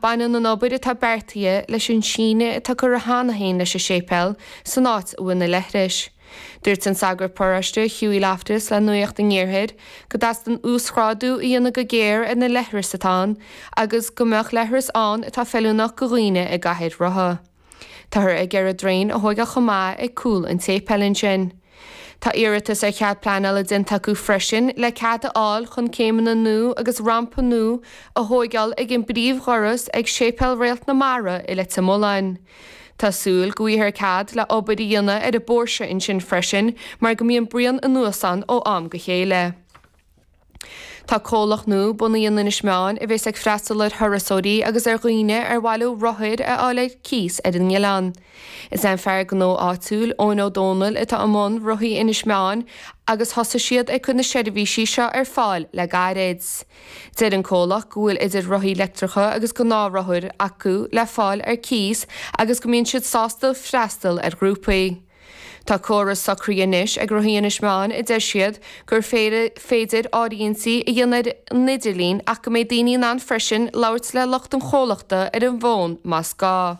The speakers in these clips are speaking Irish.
Baineann an obair atá beartaithe leis an síneadh atá curtha cheana féin leis an séipéal san áit a bhfuil na leithris. Dúirt an sagart paróiste Hughie Loftus le Nuacht an Iarthair go dteastaíonn uasghrádú a dhéanamh go géar ar na leithris atá ann agus go mbeadh leithris ann atá feiliúnach go dhaoine i gcathaoir rotha. Táthar ag iarraidh draein a thóigeáil chomh maith ag cúl an tséipéil ansin. Tá iarratas ar chead pleanála déanta acu freisin le cead a fháil chun céimeanna nua agus rampa nua a thóigeáil ag an bpríomhdhoras ag Séipéal Réalt na Mara i Leitir Mealláin. Tá súil go bhfaighfear cead le obair a dhéanamh ar an bpóirse ansin freisin mar go mbíonn bruíon anuas ann ó am go chéile. Tá comhlacht nua bunaithe in Inis Meáin a bheas ag freastal ar thurasóirí agus ar dhaoine ar mhaith leo rothair a fháil ar cíos ar an oileán. Is é an fear gnó áitiúil, Eoin Ó Dónaill, atá i mbun Rothaí Inis Meáin agus thosaigh siad ag cur na seirbhísí seo ar fáil le gairid. Deir an comhlacht go bhfuil idir rothaí leictreacha agus gnáthrothair acu le fáil ar cíos agus go mbíonn siad sásta freastal ar ghrúpaí. Tá córas socraithe anois ag Rothaí Inis Meáin a deir siad gur féidir áirithintí a dhéanamh ar an idirlíon ach go mbeidh daoine in ann freisin labhairt le lucht an chomhlachta ar an bhfón más gá.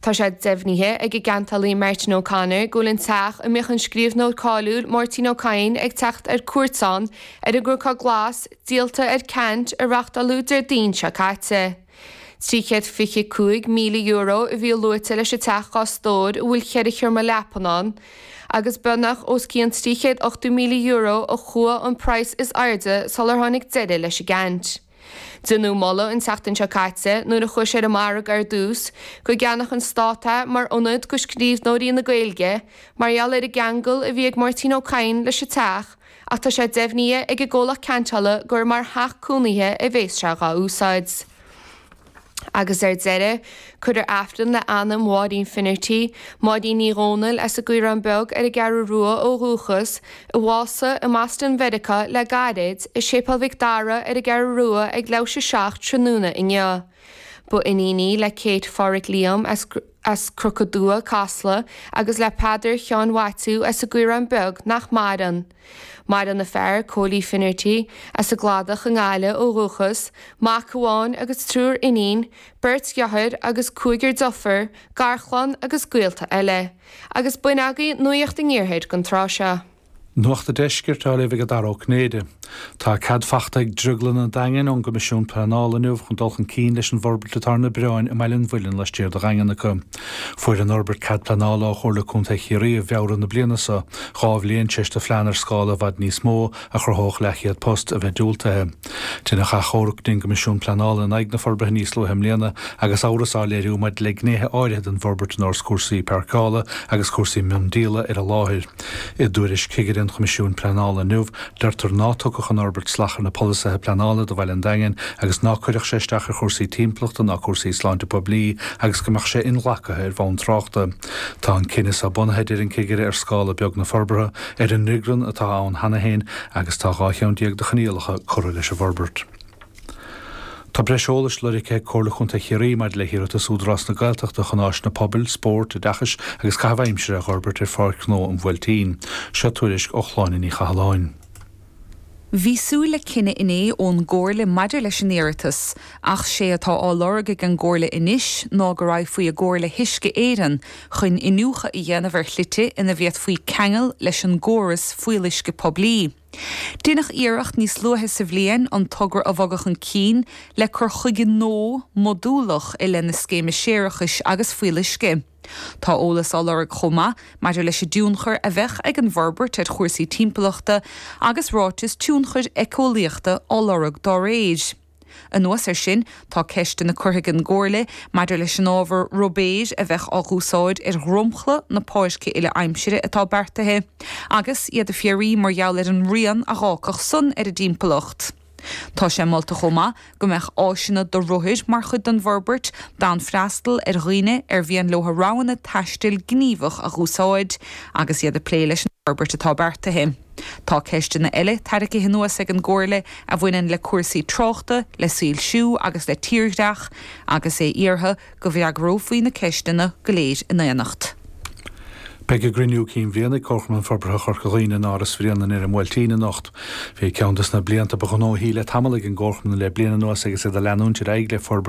Tá sé deimhnithe ag an gceantálaí Martin O'Connor go bhfuil an teach a mbíodh an scríbhneoir cáiliúil Máirtín Ó Cadhain ag teacht ar cuairt ann ar an gCnocán Glas díolta ar ceant a reáchtáladh Déardaoin seo caite. €325,000 a bhí luaite leis an teach dhá stór a bhfuil cheithre sheomra leapan ann, agus beagnach os cionn €380,000 a chuaigh an praghas is airde sular tháinig deireadh leis an gceant. Deineadh moladh an tseachtain seo caite, nuair a chuaigh sé ar an margadh ar dtús, go gceannódh an Stát é mar ionad do scríbhneoirí na Gaeilge mar gheall ar an gceangal a bhí ag Máirtín Ó Cadhain leis an teach, Ach tá sé deimhnithe ag an gcomhlacht ceantála gur mar theach cónaithe a bhéas sé dhá úsáid. Agus ar deireadh, cuirfear Aifreann le anam Mháirín Finnerty, Máirín Ní Dhomhnaill as an gCaorán Beag ar an gCeathrú Rua ó dhúchas, a bhásaigh i mBoston Mheiriceá le gairid, i Séipéal Mhic Dara ar an gCeathrú Rua ag leathuair tar éis a 7 tráthnóna inniu. Ba iníon í le Kate Pháraic Liam as. as Cnoc an Dua, Casla, agus le Peadar Sheáin Mhaitiú as an gCaorán Beag nach maireann. Maireann a fear, Cóilí Finnerty, as an gCladach i nGaillimh ó dhúchas, mac amháin agus triúr iníon, beirt dheartháir agus cúigear deirfiúr, garchlann agus gaolta eile. Agus b'in agaibh Nuacht an Iarthair don tráth seo. Nuacht an Deiscirt á léamh ag Dara Ó Cinnéide. Tá cead fachta ag Drioglann an Daingin ón gCoimisiún Pleanála inniu chun dul chun cinn leis an bhforbairt atá ar na bioráin i mBaile an Mhuilinn laistiar de Dhaingean acu. Fuair an fhorbairt cead pleanála ó Chomhairle Contae Chiarraí i bhFeabhra na bliana seo, dhá bhliain tar éis do phlean ar scála i bhfad níos mó, a chruthódh leathchéad post, a bheith diúltaithe. Deineadh achomharc go dtí an gCoimisiún Pleanála in aghaidh na forbartha níos luaithe i mbliana agus amhras á léiriú maidir le gnéithe áirithe den bhforbairt ar nós cúrsaí páirceála agus cúrsaí miondíola ar an láthair. I dtuairisc chigire an Choimisiúin Pleanála inniu, deirtear ná tugfadh an fhorbairt salach ar na polasaithe pleanála do Bhaile an Daingin agus ná cuirfeadh sé isteach ar chúrsaí timpeallachta ná cúrsaí sláinte poiblí agus go mbeadh sé inghlactha ar bhonn tráchta. Tá an cinneadh seo bunaithe, a deir an cigire, ar scála beag na forbartha, ar an ndrioglann atá ann cheana féin agus tá 12 cheann de choinníollacha curtha leis an bhforbairt. Tá breis eolais lorgtha ag Comhairle Chontae Chiarraí maidir le hiarratas Údarás na Gaeltachta chun áiseanna pobail, spóirt, oideachais agus caitheamh aimsire a dh'fhorbairt ar Pháirc Ghnó an Bhuailtín. Seo tuairisc ó Shláine Ní Chathalláin. Bhí súil le cinneadh inné ón gComhairle maidir leis an iarratas, ach sé atá á lorg ag an gComhairle anois ná go raghfaí i gcomhar le hUisce Éireann chun iniúchadh a dhéanamh ar shlite ina bhféadfaí ceangal leis an gcóras fuíolluisce poiblí. Deineadh iarracht níos luaithe sa bhliain an togra a bhogadh chun cinn le cur chuige nua modúlach i leith na scéime séarachais agus fuíolluisce. Tá eolas á lorg chomh maith maidir leis an dtionchar a bheadh ag an bhforbairt ar chúrsaí timpeallachta agus ráiteas tionchair éiceolaíochta á lorg dá réir. Anuas air sin, tá ceisteanna curtha ag an gComhairle maidir leis an ábhar ruibéir a bheadh á dh'úsáid ar dhromchla na páirce uile-aimsire atá beartaithe, agus iad ag fiafraí mar gheall ar an rian a dh'fhágfadh san ar an dtimpeallacht. Tá sé molta chomh maith go mbeadh áiseanna do rothair mar chuid den bhforbairt, d'fhonn freastal ar dhaoine ar mhian leo roghanna taistil gníomhach a dh'úsáid agus iad ag plé leis an bhforbairt atá beartaithe. Tá ceisteanna eile tarraicthe anuas ag an gComhairle a bhaineann le cúrsaí tráchta, le soilsiú agus le tírdhreach, agus é iarrtha go bhfreagrófaí na ceisteanna go léir in éineacht. Beidh a gcruinniú cinn bhliana ag Comharchumann Forbartha Chorca Dhuibhne in Áras Bhréanainn ar an mBuailtín anocht. Bhí ceann des na blianta ba ghnóthaí le tamall ag an gComharchumann le bliain anuas agus iad ag leanúint ar aghaidh le forbairt.